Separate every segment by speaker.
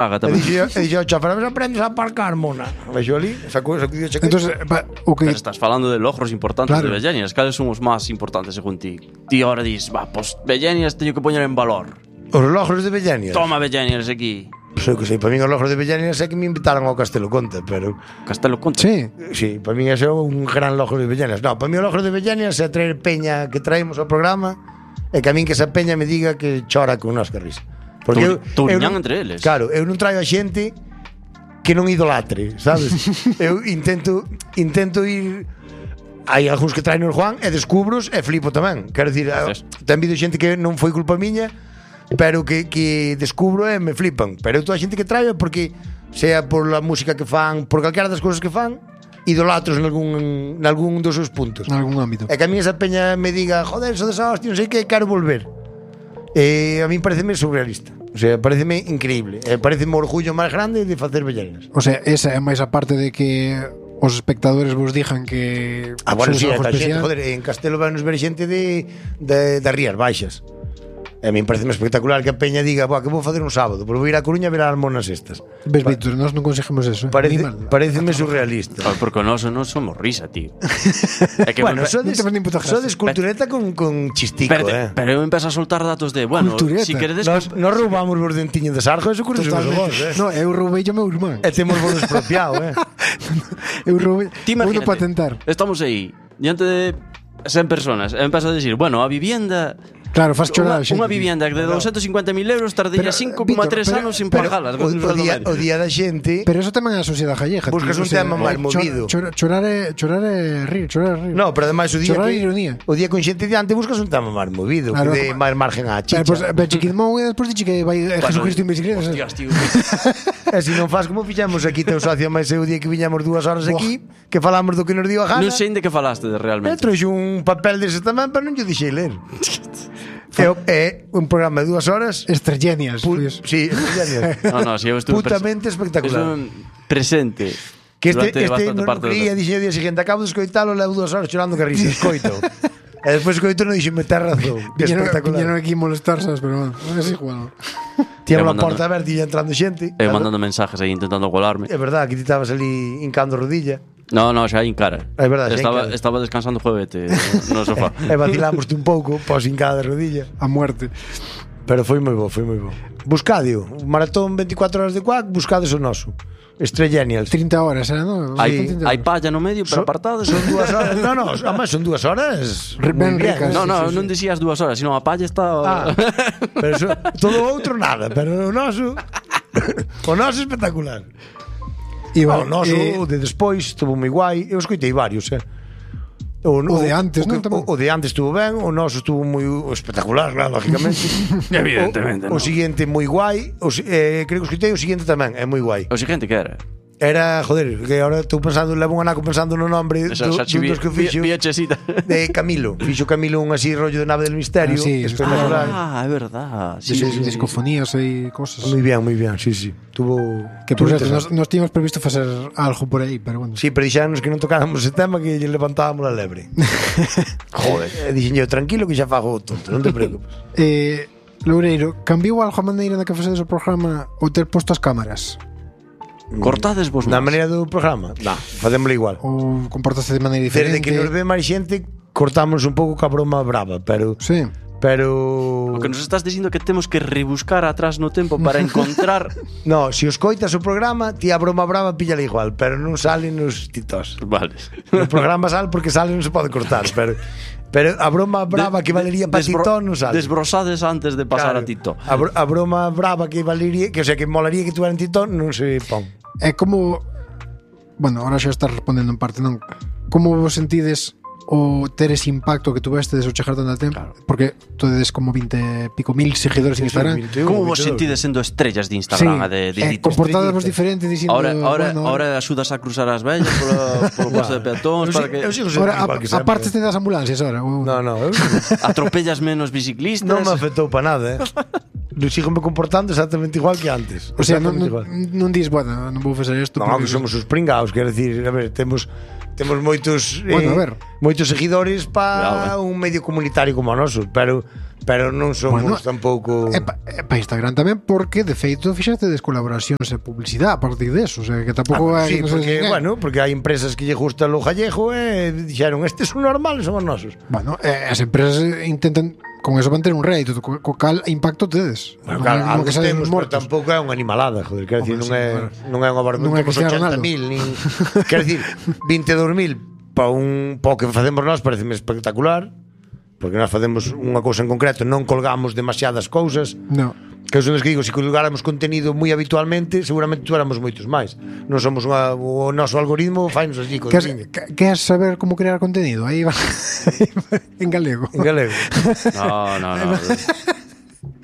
Speaker 1: Paga
Speaker 2: E
Speaker 1: tamén.
Speaker 2: dixo ao chofer, "Mas aprendes a aparcar, mona". Vexo ali, sacou a chaqueta.
Speaker 3: Entonces, o que
Speaker 1: Pero estás falando de logros importantes
Speaker 3: Claro.
Speaker 1: de Bellenias. Cales son os máis importantes según ti? Ti ahora dis, pues Bellenias teño que poñer en valor.
Speaker 2: Os logros de Bellenias.
Speaker 1: Toma Bellenias aquí.
Speaker 2: Sei que sei, para min os logros de Bellenias é que me invitaron ao Castelo Conte, pero
Speaker 1: Castelo Conte.
Speaker 3: Sí.
Speaker 2: sí, para min ese é un gran logro de Bellenias. No, para min o logro de Bellenias é traer peña que traemos ao programa e que a min que esa peña me diga que chora con nós que risa.
Speaker 1: Touriñán
Speaker 2: non-
Speaker 1: entre eles.
Speaker 2: Claro, eu non traio a xente que non idolatre, sabes? Eu intento ir. Hai algúns que traen o Juan e descubros e flipo tamén. Quero dicir, ten habido xente que non foi culpa miña, pero que descubro e me flipan. Pero eu toda a xente que traio é porque sea por a música que fan, por calquera das cousas que fan, idolatros nalgún dos seus puntos.
Speaker 3: En algún ámbito.
Speaker 2: E que a mí esa peña me diga, joder, eso desa hostia, non sei que, quero volver. A mí pareceme surrealista. O sea, pareceme increíble. Pareceme o orgullo máis grande de facer Bellenias.
Speaker 3: O sea, esa é máis a parte de que os espectadores vos dijan que
Speaker 2: Bueno,
Speaker 3: sois
Speaker 2: sí,
Speaker 3: algo
Speaker 2: a xente,
Speaker 3: especial.
Speaker 2: joder, en Castelo van nos ver xente das Rías Baixas. E a mí pareceme espectacular que a peña diga, "Buah, que vou facer un sábado, pois vou ir a Coruña a ver as monas estas".
Speaker 3: Ves, Víctor, nós non conseguimos eso.
Speaker 2: Pareceme surrealista.
Speaker 1: Porque nós non somos risa, tío. É que
Speaker 2: Bueno,
Speaker 3: non te fan nin puta gracia.
Speaker 2: sodes cultureta con chistico,
Speaker 1: pero eu empezo a soltar datos de, bueno,
Speaker 3: Cultureta.
Speaker 1: si queredes
Speaker 2: Nos roubamos vos dentiño de sarjo, eso curioso vos,
Speaker 3: No, eu roubei o meu irmán.
Speaker 2: E temos vos expropiado,
Speaker 3: Eu roubei.
Speaker 1: Ti
Speaker 3: Vou
Speaker 1: imagínate,
Speaker 3: patentar.
Speaker 1: estamos aí diante de 100 personas e empeza a decir, bueno, a vivienda
Speaker 3: Claro, faz chorar a xente.
Speaker 1: unha vivienda de 250.000 euros tardaría
Speaker 3: Pero,
Speaker 1: 5,3
Speaker 3: Víctor,
Speaker 1: anos sin
Speaker 2: Pero
Speaker 1: pagalas.
Speaker 2: o día da xente
Speaker 3: Pero eso tamén é a sociedade gallega.
Speaker 2: buscas
Speaker 3: tío,
Speaker 2: un tema máis movido.
Speaker 3: Chorar é rir.
Speaker 2: No, pero ademais o día
Speaker 3: Chorar
Speaker 2: que,
Speaker 3: é ironía.
Speaker 2: o día con xente diante buscas un tema máis movido,
Speaker 3: Claro,
Speaker 2: que de máis margen á chicha.
Speaker 3: Pois ve Chiquidmón e despois dixe que vai Jesucristo en bicicleta.
Speaker 1: Hostias, tío.
Speaker 2: E se non faz como fixemos aquí teu socio máis eu día que viñamos 2 horas aquí, que falamos do que nos dio a gana.
Speaker 1: Non sei de que falaste
Speaker 2: E
Speaker 1: realmente.
Speaker 2: trouxe un papel dese tamén, pero non lle dixei ler. É un programa de 2 horas.
Speaker 3: Estrellenias.
Speaker 2: Sí, genial.
Speaker 1: No, si eu estuve
Speaker 2: Putamente espectacular.
Speaker 1: Presente.
Speaker 2: Que
Speaker 1: durante bastante
Speaker 2: non
Speaker 1: parte
Speaker 2: creía, dixen o día seguinte, acabo de escoitalo, levo 2 horas chorando que risa, escoito. E despois escoito non dixo, me ten razón. Que
Speaker 3: Viñeron
Speaker 2: espectacular.
Speaker 3: aquí molestarse, pero é igual.
Speaker 2: Tiña a
Speaker 1: Eu
Speaker 2: porta aberta e ia entrando xente.
Speaker 1: Eu mandando mensajes aí intentando colarme.
Speaker 2: É verdad, que ti estabas ali hincando rodilla.
Speaker 1: No, xa aí en cara.
Speaker 2: É verdade, xa en cara.
Speaker 1: Estaba descansando o juevete no sofá.
Speaker 2: E vacilámoste un pouco, pos hincada de rodilla.
Speaker 3: A muerte.
Speaker 2: Pero foi moi bo, foi moi bo. Buscadio, maratón 24 horas de Quack, buscades o noso. Estrellenials.
Speaker 3: 30 horas, non?
Speaker 1: Hai palla no medio, pero apartadas.
Speaker 2: Son 2 horas. No, además son 2 horas.
Speaker 3: Ben
Speaker 2: moi bien.
Speaker 3: ricas.
Speaker 1: Non dicías 2 horas, sino a palla está.
Speaker 2: Pero todo o outro nada, pero o noso espectacular. O noso de despois estuvo moi guai. Eu escoitei varios,
Speaker 3: O de antes, non?
Speaker 2: O de antes estuvo ben, o noso estuvo moi espectacular, claro, lógicamente.
Speaker 1: Evidentemente.
Speaker 2: O seguinte moi guai, creo que escoitei o seguinte tamén, é moi guai.
Speaker 1: O seguinte que era?
Speaker 2: Era, joder, que ahora estou pensando, levo un anaco pensando no nombre dos que fixo. De Camilo. Fixo Camilo un así rollo de Nave del Misterio.
Speaker 3: Sí,
Speaker 2: espectacular.
Speaker 1: É verdad.
Speaker 3: Sí, discofonías e cosas.
Speaker 2: Moi bien, sí. Tuvo
Speaker 3: que por certo, nos tínhamos previsto facer algo por aí, pero bueno.
Speaker 2: Sí, pero dixános que non tocáramos ese tema, que lle levantábamos a lebre. Joder. Dixen eu, tranquilo que xa fago o tonto, non te preocupes.
Speaker 3: Loureiro, cambiou algo a maneira na que facedes o programa ou ter posto as cámaras?
Speaker 1: Cortades vos
Speaker 2: Na maneira do programa? Non, facémoslo igual.
Speaker 3: Ou comportaste de maneira diferente?
Speaker 2: Desde que nos ve máis xente, cortamos un pouco ca broma brava, pero...
Speaker 3: Sí.
Speaker 2: Pero...
Speaker 1: O que nos estás dicindo que temos que rebuscar atrás no tempo para encontrar...
Speaker 2: No, se os coitas o programa, ti a broma brava píllala igual, pero non sale nos titos.
Speaker 1: Vale.
Speaker 2: No programa sale porque sale non se pode cortar, pero a broma brava que valería para Tito non sale.
Speaker 1: Desbrosades antes de pasar
Speaker 2: Claro,
Speaker 1: a Tito.
Speaker 2: A broma brava que valería, que o sea, que molaría que tuveran Tito, non se pon.
Speaker 3: É como... Bueno, ahora xa estás respondendo en parte, non? Como vos sentides o ter ese impacto que tuvestes o chegar tanto tempo? Claro. Porque todes como 20 pico mil seguidores en Instagram.
Speaker 2: 21,
Speaker 1: Como vos
Speaker 2: 22.
Speaker 1: sentides sendo estrellas de Instagram?
Speaker 3: Sí, comportadas vos diferentes dicindo...
Speaker 1: Ahora axudas a cruzar as vellas polo paso de peatóns para que...
Speaker 3: Ahora, aparte das ambulancias ahora.
Speaker 2: No, eu
Speaker 1: atropellas menos biciclistas.
Speaker 2: non me afectou para nada, sigo me comportando exactamente igual que antes.
Speaker 3: O sea, non dis, bueno, non vou facer isto.
Speaker 2: Non, que somos os pringaos, quero decir, a ver, temos moitos moitos seguidores para un medio comunitario como o noso, pero non somos tampouco
Speaker 3: para Instagram tamén, porque de feito fixastedes colaboracións e publicidade a partir deso, o sea, que tampouco
Speaker 2: sí, porque hai empresas que lle gusta o galego e dixeron, estes son normales, son os nosos.
Speaker 3: Bueno, as empresas intentan con eso manter un rédito, co cal impacto tedes.
Speaker 2: Bueno, claro, algo que temos, pero tampouco é unha animalada, joder, quero decir, non é unha barbaridade, non é 80.000, nin quero decir, 22.000 para un pouco que facemos nós pareceme espectacular, porque nós facemos unha cousa en concreto, non colgamos demasiadas cousas.
Speaker 3: No.
Speaker 2: Que eu son que digo, se colgáramos contenido moi habitualmente, seguramente tuéramos moitos máis. Non somos o noso algoritmo fainos así.
Speaker 3: Queres saber como crear contenido? Aí va en galego.
Speaker 2: En galego.
Speaker 1: No.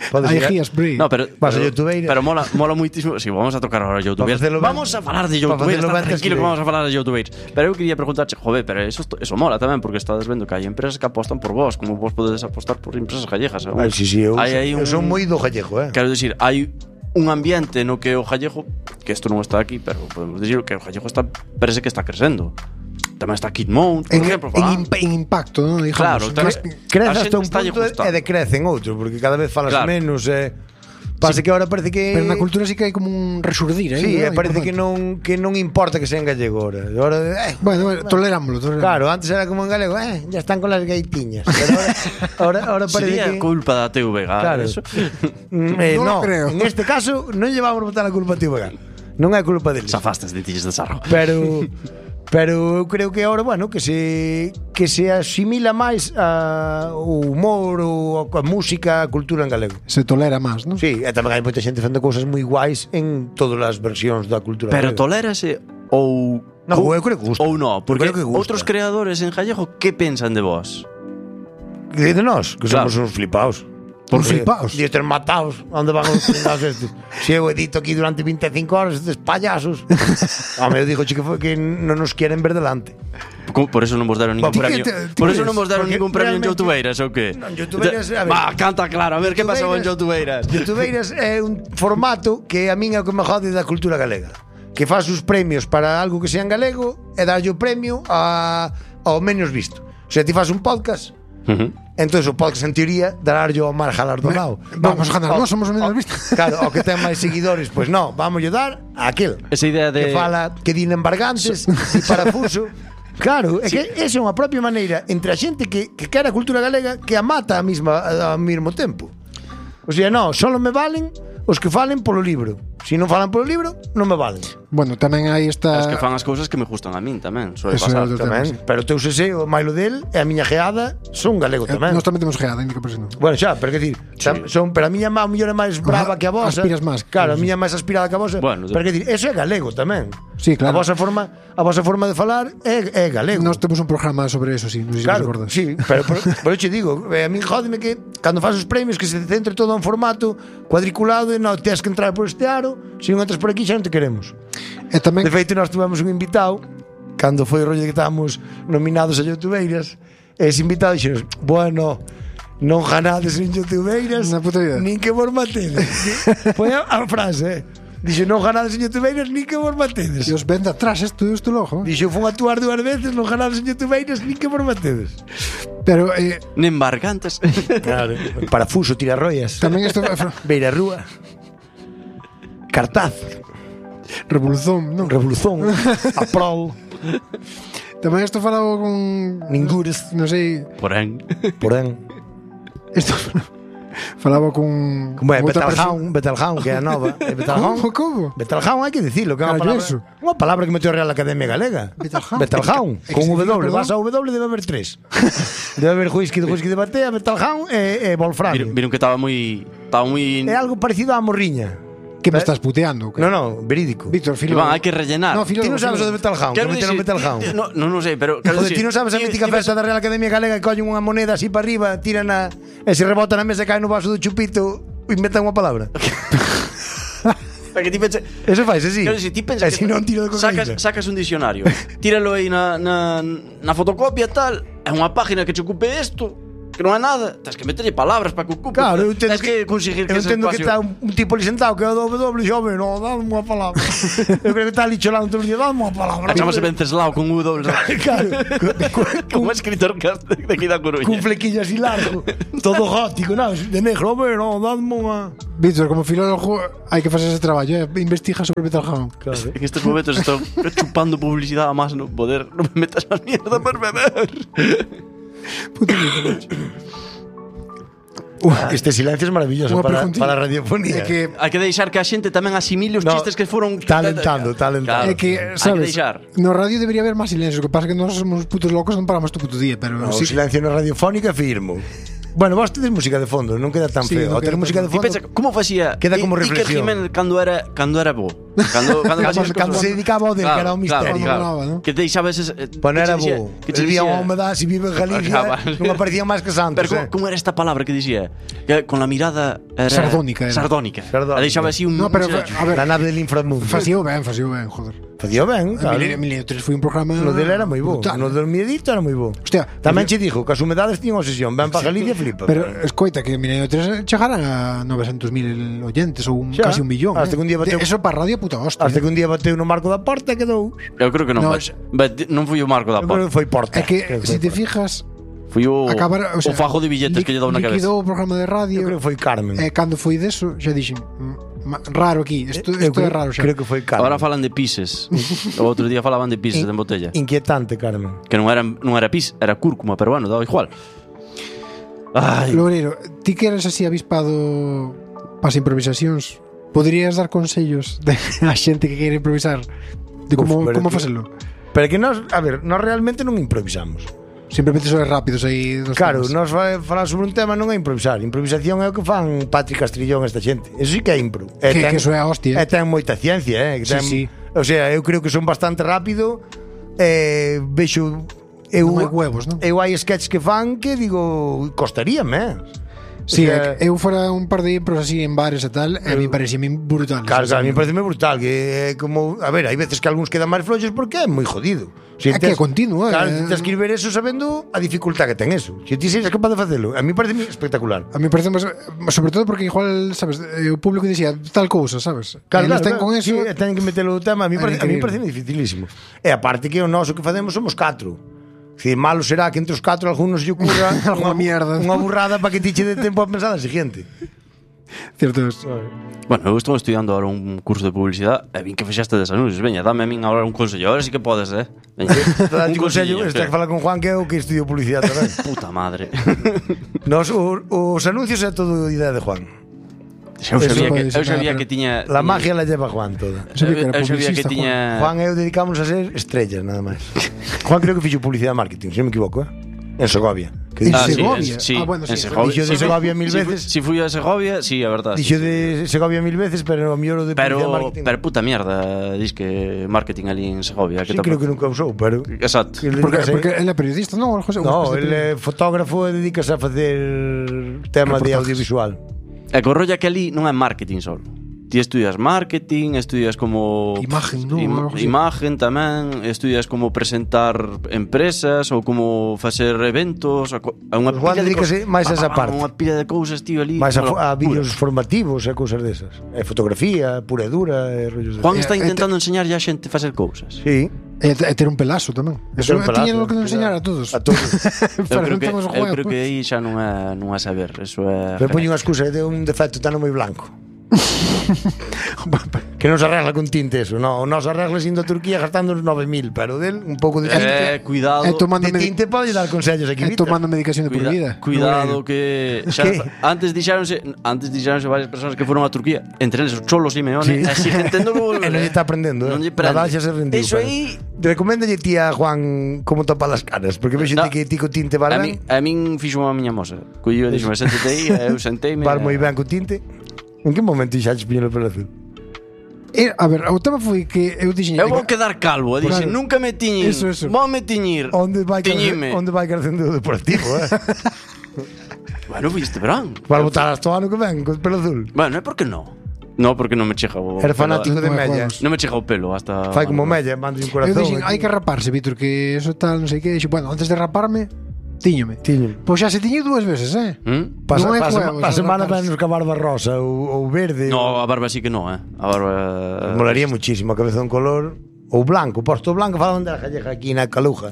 Speaker 3: Hai guías por aí.
Speaker 1: No, pero mola muitísimo. Si, vamos a tocar ahora youtubers. Vamos a falar de youtubers. Tranquilo que vamos a falar de youtubers. Pero eu quería preguntarche, joder, pero eso mola tamén, porque estades vendo que hai empresas que apostan por vos, como vos podedes apostar por empresas gallegas.
Speaker 2: Sí, eu son moi do gallego,
Speaker 1: Quero dicir, hai un ambiente no que o gallego, que isto non está aquí, pero podemos dicir que o gallego parece que está crecendo. Tamén está Kid Mount, por exemplo.
Speaker 3: En impacto, non?
Speaker 1: Claro,
Speaker 2: crece hasta un punto e decrece en outro, porque cada vez falas menos pasa que ahora parece que
Speaker 3: pero na cultura sí que hai como un resurdir,
Speaker 2: sí, parece que non importa que sea en gallego ahora.
Speaker 3: Bueno, tolerámoslo.
Speaker 2: Claro, antes era como en galego, ya están con las gaitiñas. Pero ahora parece
Speaker 1: sería
Speaker 2: que
Speaker 1: culpa da TVG,
Speaker 2: claro. Eso. No, creo. En este caso non llevamos a botar a culpa a TVG. Non é culpa deles.
Speaker 1: Zafastes de tilles de sarro.
Speaker 2: Pero eu creo que agora, bueno, que se asimila máis o humor, a música, a cultura en galego.
Speaker 3: Se tolera máis, non?
Speaker 2: Sí, e tamén hai moita xente facendo cousas moi guais en todas as versións da cultura
Speaker 1: pero
Speaker 2: galega.
Speaker 1: Tolérase ou
Speaker 2: eu creo que gusta.
Speaker 1: Ou non, porque outros creadores en gallego que pensan de vos?
Speaker 2: De nós, que somos uns flipaos.
Speaker 3: Por flipaos.
Speaker 2: De estar matados. Onde van os flipaos estes? Se eu edito aquí durante 25 horas estes payasos. Eu digo que non nos queren ver delante.
Speaker 1: Por eso non vos deron ningún premio. Por eso non vos deron ningún premio en Youtubeiras, ou que?
Speaker 2: Non, Youtubeiras,
Speaker 1: canta claro, a ver que pasou en Youtubeiras.
Speaker 2: Youtubeiras é un formato que a min é o que me jode da cultura galega. Que faz os premios para algo que sea en galego e darlle o premio ao menos visto. O sea, ti faz un podcast. Entonces o podcast en teoría dararlle ao máis galardonado.
Speaker 3: Vamos a ganar, nós somos o menos visto.
Speaker 2: Claro, o que ten máis seguidores, pois non, vamos a dar a aquel.
Speaker 1: Esa idea de
Speaker 2: que fala que din embargantes e parafuso. Claro, é que esa é unha propia maneira entre a xente que quere a cultura galega que a mata ao mesmo tempo. O sea, non, solo me valen os que falen polo libro. Se non falan polo libro, non me valen.
Speaker 3: Bueno, tamén hai esta...
Speaker 1: As que fan as cousas que me gustan a min tamén. Suele pasar
Speaker 2: tamén. Pero o teu sese, o mailo del e a miña geada son galego tamén.
Speaker 3: Nós tamén temos geada, indica por si non.
Speaker 2: Bueno, xa, pero que decir, son, pero a miña má mellor é máis brava que a vosa.
Speaker 3: Aspiras máis.
Speaker 2: Claro, a miña máis aspirada que a vosa.
Speaker 1: Bueno,
Speaker 2: pero que decir, eso é galego tamén.
Speaker 3: Sí, claro.
Speaker 2: A vosa forma de falar é galego.
Speaker 3: Nós temos un programa sobre eso, sí, non sei se
Speaker 2: claro,
Speaker 3: recordas.
Speaker 2: Sí, pero eu che digo, a mí jódeme que cando faz os premios que se centre todo en formato cuadriculado e non tens que entrar por este aro, se non entras por aquí xa non te queremos.
Speaker 3: E tamén...
Speaker 2: De feito, nós tivemos un invitado cando foi o rollo que estábamos nominados a Youtubeiras, e ese invitado dixeron, bueno, non ganades en Youtubeiras nin que vos matedes. Foi a frase, Dixo, non ganades en Youtubeiras nin que vos matedes.
Speaker 3: E os ven de atrás isto logo.
Speaker 2: Dixo, fun a actuar 2 veces, non ganades en Youtubeiras nin que vos matedes.
Speaker 3: Pero
Speaker 1: nin barcantes.
Speaker 2: Claro, parafuso, tirarroias.
Speaker 3: Tamén isto
Speaker 2: Beira Rúa. Cartaz.
Speaker 3: Revolución, non?
Speaker 2: Revolución. Aprol.
Speaker 3: Tamén isto falaba con
Speaker 2: Ningures,
Speaker 3: non sei.
Speaker 1: Porén.
Speaker 3: Isto falaba con
Speaker 2: Betelgeuse, que é a nova.
Speaker 3: Como?
Speaker 2: Betelgeuse hai que dicilo, que é unha palabra que meteu a Real Academia Galega. Betelgeuse, con W, vas a W debe haber 3. Debe haber whisky de batea, Betelgeuse e Wolframio.
Speaker 1: Viron que estaba moi
Speaker 2: é algo parecido á morriña.
Speaker 3: Que me estás puteando?
Speaker 2: No, verídico.
Speaker 3: Víctor,
Speaker 1: Iván, hai que rellenar.
Speaker 2: Ti non sabes o de Betelgeuse, que meteron Betelgeuse.
Speaker 1: Non sei, pero
Speaker 2: ti non sabes a mítica festa da Real Academia Galega que collen unha moneda así para arriba, tiran e se rebota na mesa e cae no vaso do chupito e inventan unha palabra.
Speaker 1: Para que ti pense,
Speaker 2: eso fais así.
Speaker 1: Claro, si ti pensas
Speaker 2: que non tiro de
Speaker 1: sacas un dicionario, tíralo aí na fotocopia tal, é unha página que che ocupe isto. que non é nada, tens que meterlle palabras para que ocupe.
Speaker 2: Claro,
Speaker 1: tens que conseguir que ese
Speaker 2: espacio... Eu entendo que está un tipo ali sentado que é o doble, xome, non, dame unha palabra. Eu creo que está ali cholando todo o día, dame unha palabra.
Speaker 1: Chamase Venceslao con U doble.
Speaker 2: Claro.
Speaker 1: Como escritor de aquí da Coruña.
Speaker 2: Cun flequillo así largo, todo gótico, non, de negro, home, non, dame unha...
Speaker 3: Víctor, como filólogo hai que facer ese traballo, investiga sobre Peter Hammond.
Speaker 1: Claro. En estes momentos estou chupando publicidade a máis no poder. Non me metas a mierda por beber.
Speaker 3: Puto Víctor.
Speaker 2: Este silencio é maravilloso para a radiofonía.
Speaker 3: Que
Speaker 1: hai que deixar que a xente tamén asimile os chistes que foron
Speaker 2: talentando.
Speaker 1: Claro.
Speaker 3: É que, sabes, no radio debería haber máis silencio. O que pasa é que nós somos putos locos, non paramos todo puto día, pero
Speaker 2: o silencio na radiofónica firmo. Bueno, vos tedes música de fondo, non queda tan feo.
Speaker 3: Non
Speaker 2: queda música de fondo.
Speaker 1: Pensa, como facía
Speaker 2: queda como reflexión.
Speaker 1: Iker Jiménez cando era bo.
Speaker 2: Cando se dedicaba ao del, que era un misterio.
Speaker 1: Claro. Que deixaba eses...
Speaker 2: Bueno, era bo. Que vivía unha humedad, si vive en Galicia, non aparecían máis que santos.
Speaker 1: Pero como era esta palabra que dicía? Que con la mirada era...
Speaker 3: Sardónica.
Speaker 1: Deixaba así un...
Speaker 3: No, pero, a ver,
Speaker 2: la nave del inframundo.
Speaker 3: Facío ben, joder.
Speaker 2: Facía ben, claro.
Speaker 3: Milenio 3 foi un programa...
Speaker 2: No dele era moi bo. No del miedito era moi bo.
Speaker 3: Hostia,
Speaker 2: tamén che dixo que as humedades tiñan obsesión. Ben para Galicia, flipa.
Speaker 3: Pero escoita que Milenio 3 chegaran a 900.000 oyentes ou casi 1 millón.
Speaker 2: Hasta que un día bateu...
Speaker 3: Eso para radio puta hostia.
Speaker 2: Hasta que un día bateu no marco da porta e quedou...
Speaker 1: Eu creo que non. Non foi o marco da porta.
Speaker 2: Foi porta.
Speaker 3: É que, se te fijas...
Speaker 1: Foi o fajo de billetes que lle dou na cabeza.
Speaker 3: Liquidou o programa de radio.
Speaker 2: Eu creo que foi Carmen.
Speaker 3: E cando foi deso, xa dixen... Raro aquí, isto é raro xa.
Speaker 2: Creo que foi Carmen.
Speaker 1: Ahora falan de pises. O outro día falaban de pises en botella.
Speaker 2: Inquietante, Carmen.
Speaker 1: Que non era pis, era cúrcuma, pero bueno, daba igual. Ai.
Speaker 3: Loureiro, ti que eres así avispado pas improvisacións, poderías dar consellos a xente que quere improvisar de como facelo?
Speaker 2: Pero que nós, a ver, nós realmente non improvisamos.
Speaker 3: Simplemente sois rápidos aí dos
Speaker 2: claro,
Speaker 3: temas.
Speaker 2: Nós falar sobre un tema non é improvisar. Improvisación é o que fan Patrick Castrillón esta xente. Eso sí que é impro.
Speaker 3: Que eso é a hostia.
Speaker 2: E ten moita ciencia,
Speaker 3: Sí.
Speaker 2: O sea, eu creo que son bastante rápido. Vexo
Speaker 3: non hai huevos, non?
Speaker 2: Eu hai sketches que fan que digo, costaríame,
Speaker 3: Sí, o sea, eu fora un par de impros así en bares e tal, e a mí parece brutal.
Speaker 2: Claro, a mí parece brutal que como, a ver, hai veces que algúns quedan máis floxos porque é moi jodido.
Speaker 3: Si é que é continuo,
Speaker 2: claro, tens que ver eso sabendo a dificultad que ten eso. Se ti seres capaz de facelo, a mí parece espectacular.
Speaker 3: A mí parece sobre todo porque igual, sabes, o público dicía tal cousa, sabes?
Speaker 2: Claro,
Speaker 3: ten con eso,
Speaker 2: ten que metelo o tema, a mí parece dificilísimo. E aparte que o noso que facemos somos 4. Si malo será que entre os 4 algúns lle ocurra
Speaker 3: unha mierda,
Speaker 2: unha burrada para que ti che dé tempo a pensar a siguiente.
Speaker 3: Cierto es.
Speaker 1: Bueno, eu estou estudiando ahora un curso de publicidade e vin que fexaste des anuncios. Veña, dame a min agora un consello. Ahora sí que podes, Veña.
Speaker 2: Un consello, este que fala con Juan que é o que estudiou publicidade tamén.
Speaker 1: Puta madre.
Speaker 2: Os anuncios é todo idea de Juan.
Speaker 1: Eu sabía que tiña...
Speaker 2: La magia la lleva Juan toda.
Speaker 1: Eu sabía que tiña...
Speaker 2: Juan e eu dedicámonos a ser estrellas, nada máis. Juan creo que fixo publicidade e marketing, se non me equivoco, En Segovia.
Speaker 3: En Segovia?
Speaker 1: Sí,
Speaker 3: bueno,
Speaker 1: en Segovia.
Speaker 2: Dixo de Segovia 1000 veces.
Speaker 1: Si fui a Segovia, sí, a verdad.
Speaker 2: Dixo de Segovia 1000 veces, pero o mellor de publicidade e marketing.
Speaker 1: Pero puta mierda, dis que marketing ali en Segovia.
Speaker 2: Sí, creo que nunca usou, pero...
Speaker 1: Exacto.
Speaker 3: Porque ele é periodista, non?
Speaker 2: No, ele é fotógrafo e dedícase a facer tema de audiovisual.
Speaker 1: E co rolla que ali non é marketing só. Ti estudias marketing, estudias como...
Speaker 3: Imagen, non?
Speaker 1: Imagen tamén, estudias como presentar empresas ou como facer eventos, a unha
Speaker 2: pila de cousas. máis a esa parte.
Speaker 1: Unha pila de cousas, tío, ali.
Speaker 2: Máis a vídeos formativos e cousas desas. E fotografía, pura e dura, e rollos
Speaker 1: Juan está intentando enseñarlle a xente a facer cousas.
Speaker 2: Sí.
Speaker 3: E ter un pelazo tamén. Eso tiñen que enseñar a todos.
Speaker 2: A todos.
Speaker 1: Eu creo que aí xa non é saber. Eso é...
Speaker 2: Pero poño unha excusa de un defecto tan moi blanco. Que non se arregla con tinte eso. No, nos arregla indo a Turquía gastando uns 9.000, pero del un pouco de tinte.
Speaker 1: Cuidado.
Speaker 2: De tinte pode dar consellos aquí.
Speaker 3: Tomando medicación de por vida.
Speaker 1: Cuidado que xa, antes dixáronse varias persoas que foron a Turquía, entre eles o Cholo Simeone, así entendo que
Speaker 2: non lle está aprendendo. Nadal xa se rendiu.
Speaker 1: Eso aí
Speaker 2: recoméndalle ti a Juan como topar as caras, porque vexo que ti co tinte vas ben.
Speaker 1: A min fixo a miña moza. Cuyo dixo, séntate aí, eu senteime.
Speaker 2: Vas moi ben co tinte. En que momento xaches piñelo pelo azul?
Speaker 3: A ver, o tema foi que eu dixen...
Speaker 1: Eu vou quedar calvo, dixen, nunca me tiñin. Vou me tiñir.
Speaker 2: Onde vai crecendo o deportivo,
Speaker 1: Bueno, viste verán.
Speaker 2: Para botar hasta o ano que ven, con pelo azul.
Speaker 1: Bueno, é porque non. No, porque non me chega o...
Speaker 2: Era fanático de Mella.
Speaker 1: Non me chega o pelo hasta...
Speaker 2: Fai como Mella, mando un corazón.
Speaker 3: Eu dixen, hai que raparse, Víctor, que eso tal, non sei que. Dixen, bueno, antes de raparme,
Speaker 2: Tíñome.
Speaker 3: Pois xa se tiño 2 veces,
Speaker 2: Pa semana venos ca barba rosa ou verde.
Speaker 1: No, a barba sí que no, A barba...
Speaker 2: Molaría muchísimo a cabezón color. Ou blanco, posto blanco falan da gallega aquí na Caluja.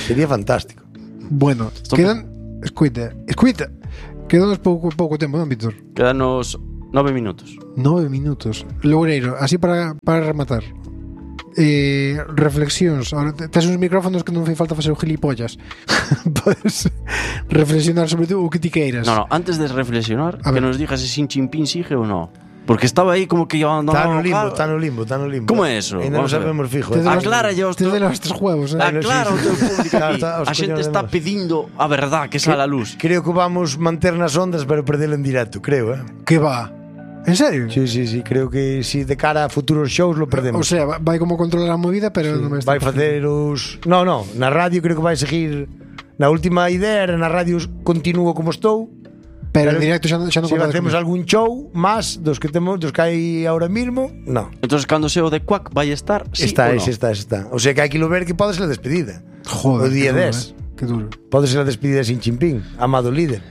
Speaker 2: Sería fantástico.
Speaker 3: Bueno, quedan... Escuita. Quedanos pouco tempo, non, Víctor?
Speaker 1: Quedanos 9 minutos.
Speaker 3: 9 minutos. Loureiro, así para rematar. Reflexións. Ahora tes uns micrófonos que non fai falta facer o gilipollas. Podes reflexionar sobre o que ti queiras.
Speaker 1: No, antes de reflexionar, que nos digas se Xi Jinping sigue ou no. Porque estaba aí como que iba andando.
Speaker 2: Está no limbo.
Speaker 1: Como é eso?
Speaker 2: Ainda non sabemos fijo.
Speaker 1: Aclara os
Speaker 3: teus juegos,
Speaker 1: Aclara o teu público aquí. A xente está pedindo a verdad que sale a luz.
Speaker 2: Creo que vamos manter nas ondas pero perdelo en directo, creo,
Speaker 3: Que va? En serio?
Speaker 2: Sí, creo que si de cara a futuros shows lo perdemos.
Speaker 3: O sea, vai como controlar a movida, pero non
Speaker 2: vai facer os... No, na radio creo que vai seguir. Na última idea era na radio continuo como estou.
Speaker 3: Pero en directo xa non
Speaker 2: se facemos algún show máis dos que hai ahora mismo, no.
Speaker 1: Entonces cando seo de Quack vai estar, sí
Speaker 2: está,
Speaker 1: ou no?
Speaker 2: Está. O sea que hai que lo ver que pode ser a despedida.
Speaker 3: Joder,
Speaker 2: o día 10.
Speaker 3: Que duro.
Speaker 2: Pode ser a despedida de Xi Jinping, amado líder.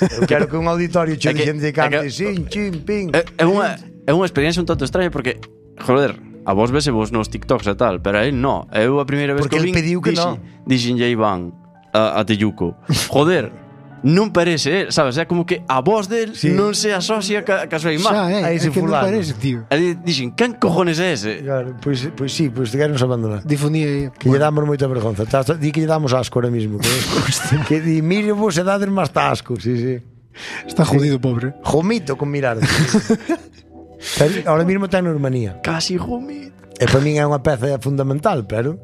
Speaker 2: Eu quero que un auditorio che de cante Xi Jinping.
Speaker 1: É unha experiencia un tanto extraña porque, joder, a vos vese vos nos TikToks e tal, pero a él no. Eu a primeira vez
Speaker 2: porque
Speaker 1: que vin
Speaker 2: pediu que no.
Speaker 1: Dixen Iván a Teyuco. Joder, non parece, sabes? É como que a voz del non se asocia ca súa imagen.
Speaker 3: Xa,
Speaker 2: ese
Speaker 3: que non
Speaker 2: fulano.
Speaker 3: parece, tío.
Speaker 1: E dixen, quen cojones é ese?
Speaker 2: Claro, pois sí, pois te queremos abandonar.
Speaker 3: Difundía aí.
Speaker 2: Que lle damos moita vergonza. Di que lle damos asco ahora mismo. Que di, mire vos e dades máis asco. Sí.
Speaker 3: Está jodido, pobre.
Speaker 2: Jomito con mirar. Ahora mismo está en urbanía.
Speaker 1: Casi jomito.
Speaker 2: E para min é unha peza fundamental, pero...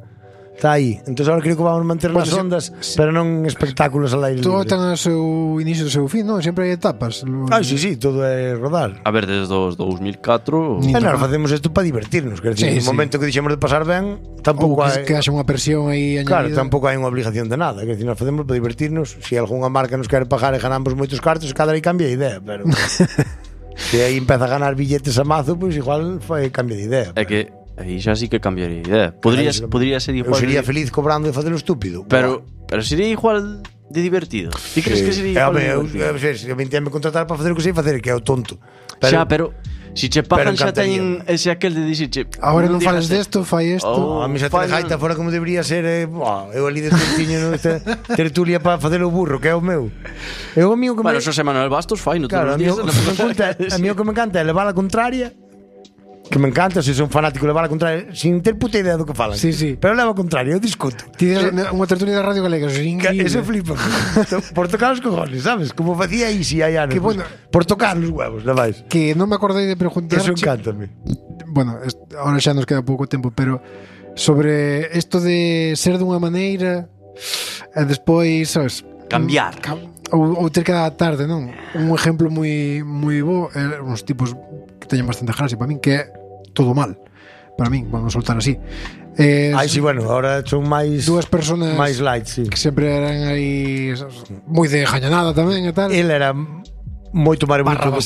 Speaker 2: Está aí. Entón agora creo que vamos manter nas ondas, pero non espectáculos al aire libre.
Speaker 3: Todo ten o seu inicio e o seu fin, non? Sempre hai etapas.
Speaker 2: Sí, todo é rodar.
Speaker 1: A ver, desde os 2004...
Speaker 2: E nós facemos isto para divertirnos. Quer dizer, no momento que dixemos de pasar ben, tampouco hai...
Speaker 3: que haxa unha presión aí
Speaker 2: Claro,
Speaker 3: añadida.
Speaker 2: tampouco hai unha obligación de nada. Quer dizer, nós facemos para divertirnos. Se algunha marca nos quere pagar e ganamos moitos cartos, cada aí cambia de idea, pero... se aí empeza a ganar billetes a mazo, pois igual cambia de idea.
Speaker 1: É que... aí xa sí que cambiaría de idea. Podría ser igual.
Speaker 2: Eu sería feliz cobrando e facelo estúpido.
Speaker 1: Pero sería igual de divertido. Ti crees que sería igual de divertido?
Speaker 2: Eu me contratar para facer o que sei facer, que é o tonto.
Speaker 1: Pero si che pagan xa teñen ese aquel de dicirche
Speaker 3: agora non fales desto, fai isto.
Speaker 2: A mí xa te gaita fora como debería ser. Eu ali de tiño esta tertulia para facer o burro, que é o meu. Eu o mío que
Speaker 1: bueno, Xosé Manuel Bastos fai, non
Speaker 2: todos os días. A mí o que me encanta é levar a contraria. Que me encanta, se son fanático de levar a contraria sin ter puta idea do que falan.
Speaker 3: Sí.
Speaker 2: Pero levo a contraria, eu discuto.
Speaker 3: Ti unha tertulia da Radio Galega, eso é increíble.
Speaker 2: Eso flipa. Por tocar os cojones, sabes? Como facía Isi hai anos.
Speaker 3: Que bueno,
Speaker 2: por tocar os huevos, non vais.
Speaker 3: Que non me acordei de preguntar.
Speaker 2: Eso encántame.
Speaker 3: Bueno, ahora xa nos queda pouco tempo, pero sobre isto de ser dunha maneira e despois, sabes,
Speaker 1: cambiar.
Speaker 3: Ou ter que adaptarte, non? Un exemplo moi bo é uns tipos que teñen bastante gracia para min, que é todo mal. Para min, vamos a soltar así.
Speaker 2: Sí, bueno, ahora son máis
Speaker 3: dúas personas
Speaker 2: máis light, sí.
Speaker 3: Que sempre eran aí moi de jañanada tamén e tal.
Speaker 2: El era moito máis bonito
Speaker 3: que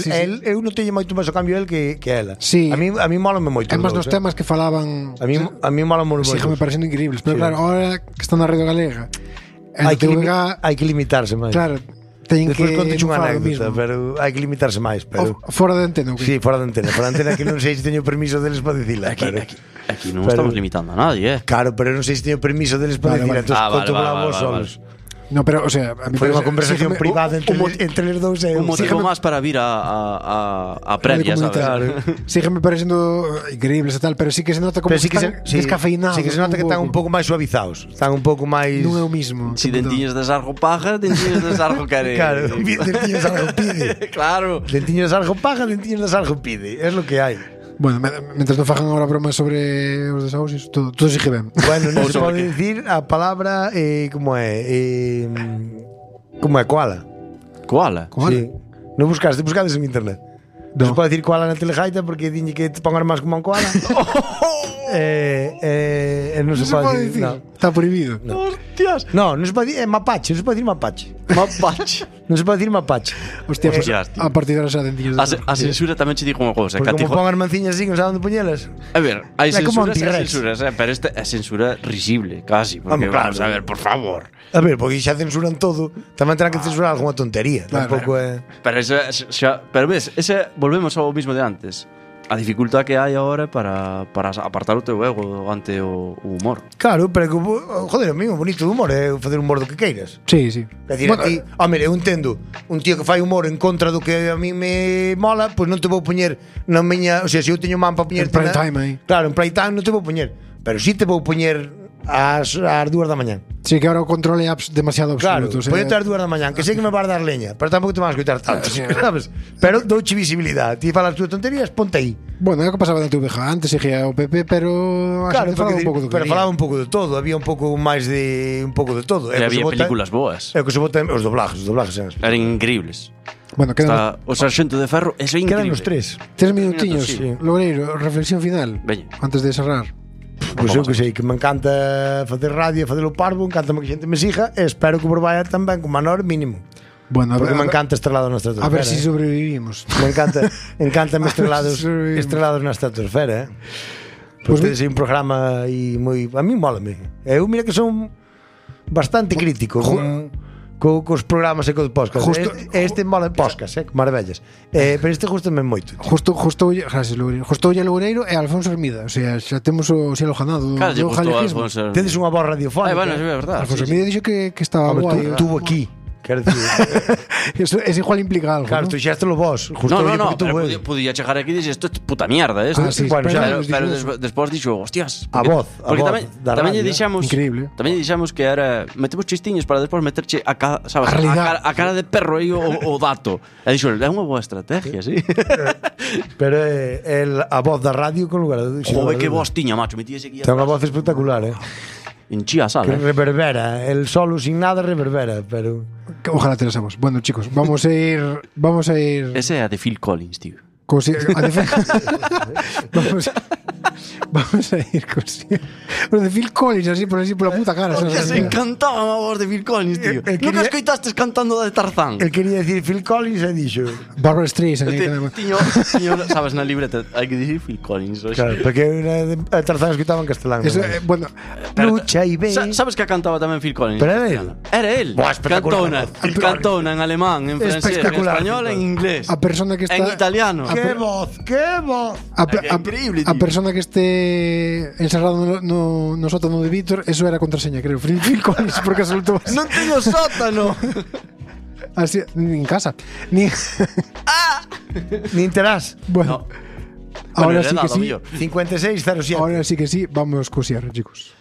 Speaker 2: sí. Eu non teño moito máis o cambio el que ela.
Speaker 3: Sí.
Speaker 2: A mí mólame moito.
Speaker 3: É máis nos temas que falaban.
Speaker 2: A mí mólame moito.
Speaker 3: Sígueme parecendo increíbles, pero claro, ahora que están na Radio Galega,
Speaker 2: hai que limitarse máis.
Speaker 3: Claro. Despois
Speaker 2: conte unha anécdota, pero hai que limitarse máis, pero
Speaker 3: fora de antena,
Speaker 2: sí, fora de antena que non sei se teño permiso deles para dicila.
Speaker 1: Aquí non estamos limitando a nadie,
Speaker 2: Claro, pero non sei se teño permiso deles para dicila, entón controlamos solos.
Speaker 3: No, pero, o sea, a mí
Speaker 2: foi unha conversación privada entre os dous.
Speaker 1: Un motivo máis para vir a previa, sabes?
Speaker 3: Sígueme parecendo increíbles e tal, pero sí que se nota como que están descafeinados.
Speaker 2: Sí que se nota que están un pouco máis suavizados. Están un pouco máis...
Speaker 3: Non é o mismo.
Speaker 1: Si dentiños de sargo paja, dentiños de sargo care.
Speaker 2: Claro, dentiños de sargo pide.
Speaker 1: Claro.
Speaker 2: Dentiños de sargo paja, dentiños de sargo pide. É lo que hai.
Speaker 3: Bueno, mentras non fajan agora bromas sobre os desahucios, todo sigue ben.
Speaker 2: Bueno, non se pode dicir a palabra como é koala.
Speaker 1: Koala?
Speaker 2: Sí. Non buscades en internet. Non se pode dicir koala na telejaita porque diñe que te pongan máis como un koala. non se pode dicir.
Speaker 3: Está prohibido.
Speaker 1: Hostias.
Speaker 2: Non se pode dicir mapache, non se pode dicir mapache. Non se pode dicir mapache.
Speaker 3: Hostia, pues, a partir de ahora xa dentillos.
Speaker 1: A censura tamén che digo unha cousa.
Speaker 2: Porque como pon as manciñas así, non saben onde poñelas.
Speaker 1: A ver, hai censuras, pero esta é censura risible, casi. Porque vamos a ver, por favor.
Speaker 2: A ver, porque xa censuran todo, tamén terán que censurar algunha tontería. Tampouco é.
Speaker 1: Pero ves, volvemos ao mismo de antes. A dificultad que hai agora para apartar o teu ego ante o humor.
Speaker 2: Claro, pero joder, a mí o bonito do humor é facer humor do que queiras.
Speaker 3: Sí, sí.
Speaker 2: É dicir, a ti, mira, eu entendo, un tío que fai humor en contra do que a mí me mola, pois non te vou poñer na miña, o sea, se eu teño man para poñer
Speaker 3: en prime time aí.
Speaker 2: Claro, en prime time non te vou poñer, pero si te vou poñer ás 2 da mañá.
Speaker 3: Sí, que ahora o controle é demasiado absoluto.
Speaker 2: Claro, poñete ás 2 da mañá, que sei que me vas dar leña, pero tampouco te vas a escoitar tanto, sabes? Pero douche visibilidade. Ti falas túas tonterías, ponte aí.
Speaker 3: Bueno, é o que pasaba na TVG antes, seguía o PP, pero
Speaker 2: claro,
Speaker 3: falaba un pouco do que
Speaker 2: pero falaba un pouco de todo, había un pouco máis de un pouco de todo.
Speaker 1: E había películas boas.
Speaker 2: É o que se vota os doblajes
Speaker 1: eran increíbles.
Speaker 3: Bueno,
Speaker 1: quedan o Sarxento de Ferro, eso é increíble.
Speaker 2: Quedan os 3
Speaker 3: minutiños, sí. Loureiro, reflexión final.
Speaker 1: Veña.
Speaker 3: Antes de cerrar.
Speaker 2: Pois eu que sei, que me encanta facer radio, facer o parvo, encantame que a xente me siga e espero que vos vaya tamén con menor mínimo.
Speaker 3: Bueno,
Speaker 2: porque me encanta estrelados na estratosfera.
Speaker 3: A ver si sobrevivimos.
Speaker 2: Me encanta estrelados na estratosfera, Pues tedes un programa e moi a mí mólame. Eu mira que son bastante crítico cos programas e cos podcast. Este mola podcast, maravillas. Pero este gustame moito.
Speaker 3: Gracias, Loureiro. Justo Loureiro e Alfonso Hermida. O sea, xa temos o cielo ganado.
Speaker 1: Claro,
Speaker 2: tedes unha voz radiofónica.
Speaker 1: Bueno, é verdade.
Speaker 3: Alfonso Hermida dixo que estaba guai.
Speaker 2: Tuvo aquí. Quero dicir,
Speaker 3: eso es igual implica algo.
Speaker 2: Claro, tú xéstelo vos.
Speaker 1: No, pero podía chegar aquí e dixer isto é puta mierda, esto.
Speaker 3: Sí,
Speaker 1: bueno, pero despois dixo, hostias.
Speaker 2: A voz.
Speaker 1: Porque tamén lle dixamos,
Speaker 3: increíble.
Speaker 1: Tamén lle dixamos que era metemos chistiños para despois meterche a cara de perro aí o dato. E dixo, é unha boa estrategia, sí.
Speaker 2: Pero a voz da radio con lugar.
Speaker 1: Joder, que voz tiña, macho, metíase aquí.
Speaker 2: Ten unha voz espectacular,
Speaker 1: Enchía a sala.
Speaker 2: Que reverbera, el solo sin nada reverbera, pero
Speaker 3: ojalá te la sabemos. Bueno, chicos, vamos a ir.
Speaker 1: Ese é a de Phil Collins, tío.
Speaker 3: Vamos a ir con lo de Phil Collins así por la puta cara.
Speaker 1: Se encantaba a voz de Phil Collins, tío. Nunca escoitaste cantando de Tarzán.
Speaker 2: El quería decir Phil Collins e dixo
Speaker 3: Barbara Streisand.
Speaker 1: Tiño, sabes, na libreta hai que dicir Phil Collins.
Speaker 2: Claro, porque a Tarzán escoitaba en castelán.
Speaker 3: Bueno,
Speaker 2: lucha y ve.
Speaker 1: Sabes que cantaba tamén Phil Collins?
Speaker 2: Pero era él.
Speaker 1: Cantona en alemán, en francés, en español, en inglés.
Speaker 3: A persona que está
Speaker 1: en italiano.
Speaker 2: ¡Qué voz!
Speaker 3: Increíble, tío. A persona que esté encerrado no sótano de Víctor, eso era contraseña, creo. Phil Collins, porque soltó.
Speaker 1: ¡No tengo sótano!
Speaker 3: Así, ni en casa. Ni
Speaker 2: enterás.
Speaker 3: Bueno, ahora sí que sí.
Speaker 2: 5607.
Speaker 3: Ahora sí que sí, vamos a cosiar, chicos.